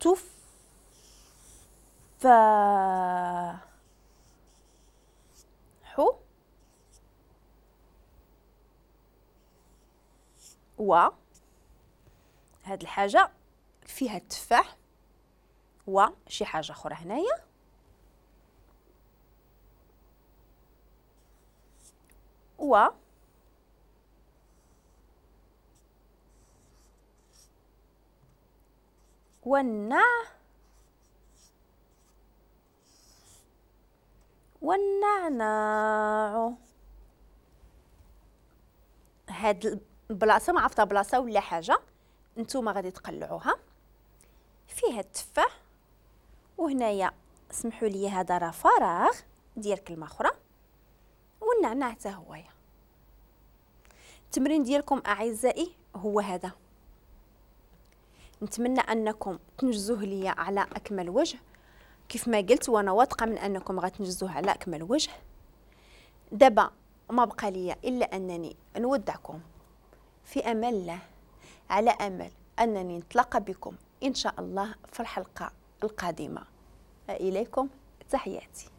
التفاح و هاد الحاجة فيها التفاح وشي حاجة أخرى هنايا و والنعناع. هاد البلاصة ما عرفتها بلاصة ولا حاجة، نتوما غادي تقلعوها. فيها التفاح، وهنايا سمحوا لي هذا راه فراغ ديال كلمة اخرى، والنعناع حتى هويا. التمرين ديالكم اعزائي هو هذا، نتمنى انكم تنجزوه ليا على اكمل وجه كيف ما قلت، وانا واثقة من انكم غتنجزوه على اكمل وجه. دابا ما بقى ليا الا انني نودعكم في امان الله، على امل انني نتلاقى بكم ان شاء الله في الحلقة القادمة. اليكم تحياتي.